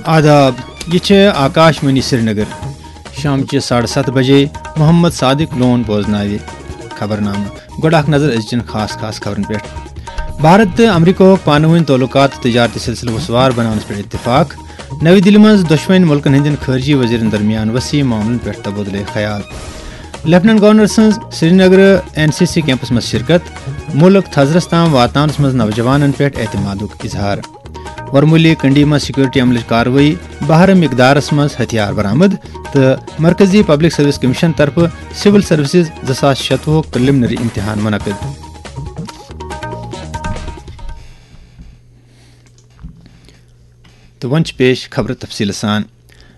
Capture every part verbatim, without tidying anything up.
آداب، یہِ چھِ آکاش وانی سرینگر۔ شامچہِ ساڑٕ ستھ بجے محمد صادق لون بوزناوِ خبرنامہٕ۔ گۄڈٕ اکھ نظر أزچٮ۪ن خاص خاص خبرن پٮ۪ٹھ۔ بھارت تہٕ امریکہُک پانہٕ وٲنۍ تعلقات تہٕ تجارتی سلسلہٕ وسوار بناونس پٮ۪ٹھ اتفاق۔ نَوِ دِلہِ منٛز دۄشوٕنۍ مُلکن ہٕنٛدٮ۪ن خارجی وزیرن درمیان وسیع معاملن پٮ۪ٹھ تبادلے خیال۔ لیفٹیننٹ گورنر سٕنٛز Srinagar N C C campus منٛز شرکت۔ مُلک تھزرس تام واتناونس منٛز نوجوانن پٮ۪ٹھ اعتمادُک اظہار۔ ورمولی کنڈی منٛز سیکورٹی عملٕچ کاروٲیی، بہرٕ مقدارس منٛز ہتھیار برآمد، تہٕ مرکزی پبلک سروس کمیشن طرفہٕ سول سروسز زٕ ساس شتوُہُک پریلمنری امتحان منعقد۔ تہٕ وۄنۍ چھِ پیش خبرٕ تفصیٖلہٕ سان۔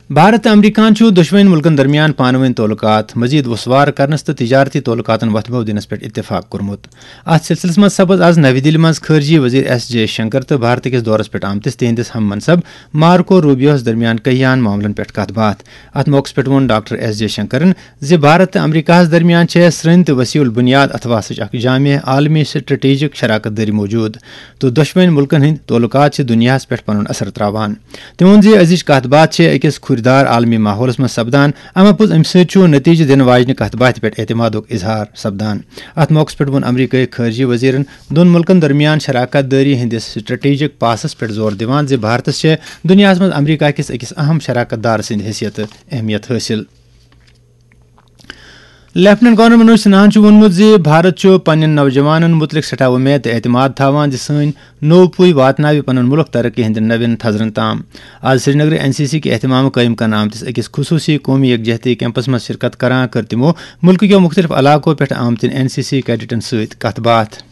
بھارت تہٕ امریکہَن چھُ دۄشوٕنۍ مُلکَن درمیان پانہٕ وٲنۍ تعلقات مزید وسوار کرنس تہٕ تجارتی تعلقاتن وۄتھٕ بو دِنس پٮ۪ٹھ اتفاق کوٚرمُت۔ اتھ سلسلس منٛز سپٕز از نَوِ دِلہِ منٛز خارجی وزیر ایس جے شنکر تہٕ بھارت کِس دورس پٮ۪ٹھ آمتِس تِہنٛدِس ہم منصب مارکو روبیوس درمیان کیہان معاملن پٮ۪ٹھ کتھ باتھ۔ اتھ موقعس پٮ۪ٹھ ووٚن ڈاکٹر ایس جے شنکرن زِ بھارت تہٕ امریکہس درمیان چھےٚ سرٛنۍ تہٕ وسیع البنیاد اتھواسٕچ اکھ جامع عالمی سٹریٹجک شراکت دٲری موجود، تہٕ دۄشوٕنۍ مُلکن ہٕنٛدۍ تعلقات چھِ دُنیاہس پٮ۪ٹھ پنُن اثر تراوان۔ تٔمۍ ووٚن زِ أزِچ کتھ باتھ چھِ أکِس کھُرۍ دار عالمی ماحولس منٛز سپدان، اما پوٚز امہِ سۭتۍ چھُ نتیجہٕ دِنہٕ واجنہِ کتھ باتھِ پٮ۪ٹھ اعتمادُک اظہار سپدان۔ اتھ موقعس پٮ۪ٹھ ووٚن امریکہٕ خارجی وزیرن دۄن مُلکن درمیان شراکت دٲری ہٕنٛدِس سٹریٹجک پاسس پٮ۪ٹھ زور دِوان زِ بھارتس چھےٚ دُنیاہس منٛز امریکہ کِس أکِس اہم شراکت دار سٕنٛدِ حیثیتہٕ اہمیت حٲصِل۔ لیفٹیننٹ گورنر منوج سنہاہن چھُ ووٚنمُت زِ بھارت چھُ پننٮ۪ن نوجوانن مُتعلق سٮ۪ٹھاہ وۄمید تہٕ اعتماد تھاوان زِ سٲنۍ نوٚو پُے واتناوِ پنُن مُلک ترقی ہٕنٛدٮ۪ن نوٮ۪ن تھزرن تام۔ آز سرینگرٕ این سی سی کہِ اہتمامہٕ قٲیِم کرنہٕ آمتِس أکِس خصوٗصی قومی یکجہتی کیمپس منٛز شرکت کران کٔر تِمو مُلکہٕ کیو مُختٔلِف علاقو پٮ۪ٹھ آمتٮ۪ن این سی سی کیڈٹن سۭتۍ کتھ باتھ۔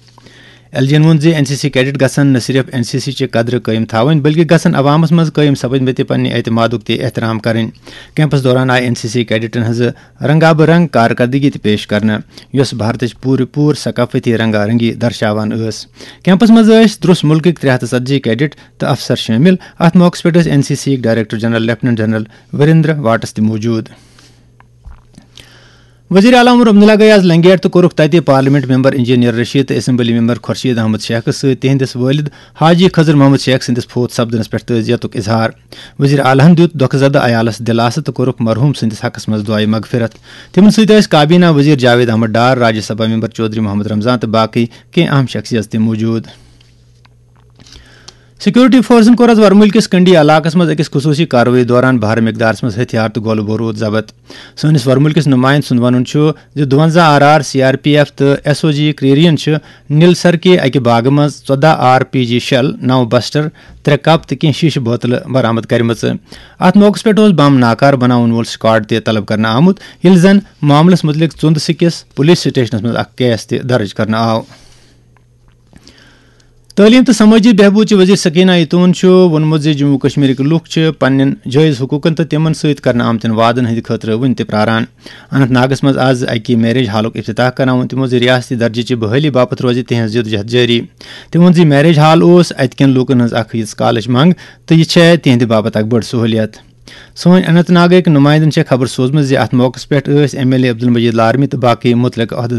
ایل جی ین ووٚن زِ این سی سی کیڈٹ گژھن نہ صرف این سی سی چہِ قدرٕ قٲیِم تھاوٕنۍ، بلکہِ گژھن عوامس منٛز قٲیِم سپٕدمٕتہِ پننہِ اعتمادُک تہِ احترام کرٕنۍ۔ کیمپس دوران آیہِ این سی سی کیڈٹن ہٕنٛزٕ رنگا بہ رنگ کارکردگی تہِ پیش کرنہٕ، یۄس بھارتٕچ پوٗرٕ پوٗرٕ ثقافتی رنگا رنگی درشاوان ٲس۔ کیمپس منٛز ٲسۍ درس مُلکٕکۍ ترٛےٚ ہتھ ژتجی کیڈٹ تہٕ افسر شٲمِل۔ اتھ موقعس پٮ۪ٹھ ٲسۍ این سی سی یِکۍ director general lieutenant general Virender Vats تہِ موجود۔ وزیر اعلیٰ عمر عبداللہ گٔیہِ آز لنگیٹ تہٕ کوٚرُکھ تتہِ پارلیمنٹ ممبر انجینئر رشید تہٕ اسمبلی ممبر خورشید احمد شیخس سۭتۍ تِہنٛدِس والد حاجی خضر محمد شیخ سٕنٛدِس فوت سپدنس پٮ۪ٹھ تعزیتُک اظہار۔ وزیر اعلیٰ ہن دیُت دۄکھٕ زدٕ عیالس دلاسہٕ تہٕ کوٚرُکھ مرحوم سٕنٛدِس حقس منٛز دعائے مغفرت۔ تِمن سۭتۍ ٲسۍ کابینہ وزیر جاوید احمد ڈار، راجیہ سبھا ممبر چودھری محمد رمضان تہٕ باقٕے کینٛہہ اہم شخصیژ تہِ موجود۔ سیکورٹی فورسن کوٚر آز ورمُلۍ کِس کنڈی علاقس منٛز أکِس خصوٗصی کاروٲیی دوران بھرٕ مقدارس منٛز ہتھیار تہٕ گولہٕ بوروٗد ضبط۔ سٲنِس ورمُلۍ کِس نُمایندٕ سُنٛد وَنُن چھُ زِ دُوَنزاہ R R, C R P F تہٕ ایس او جی کرٛیریَن چھِ نِلسر کہِ اَکہِ باغہٕ منٛز ژۄداہ آر پی جی شیل، نَو بسٹر، ترٛےٚ کپ تہٕ کینٛہہ شیشہٕ بوتلہٕ برآمد کٔرمٕژ۔ اَتھ موقعَس پٮ۪ٹھ اوس بم ناکارٕ بناون وول سکواڈ تہِ طلب کرنہٕ آمُت، ییٚلہِ زن معاملَس مُتعلِق ژُندٕ سِکِس پولیس سٹیشنَس منٛز اکھ کیس تہِ درٕج کرنہٕ آو۔ تعلیٖم تہٕ سمٲجی بہبوٗد چہِ وزیر سکینہ ایتون چھُ ووٚنمُت زِ جموں کشمیرٕکۍ لوٗکھ چھِ پننٮ۪ن جٲیز حقوٗقن تہٕ تِمن سۭتۍ کرنہٕ آمتٮ۪ن وعدن ہٕنٛدِ خٲطرٕ وُنہِ تہِ پراران۔ اننت ناگس منٛز از اکہِ میریج ہالُک افتتاح کرناوُن تِمو زِ ریاستی درجہٕ چہِ بحٲلی باپتھ روزِ تِہنٛز جدوجہد جٲری۔ تِمو ووٚن زِ میریج ہال اوس اتہِ کٮ۪ن لوٗکن ہٕنٛز اکھ یِژھ کالٕچ منگ تہٕ یہِ چھےٚ تِہنٛدِ باپتھ اکھ بٔڑ سہوٗلیت۔ سٲنۍ اننت ناگٕکۍ نُمایندن چھےٚ خبر سوٗزمٕژ زِ اتھ موقعس پٮ۪ٹھ ٲسۍ ایم ایل اے عبدالمجید لارمی تہٕ باقٕے مُتعلقہٕ عہدٕدار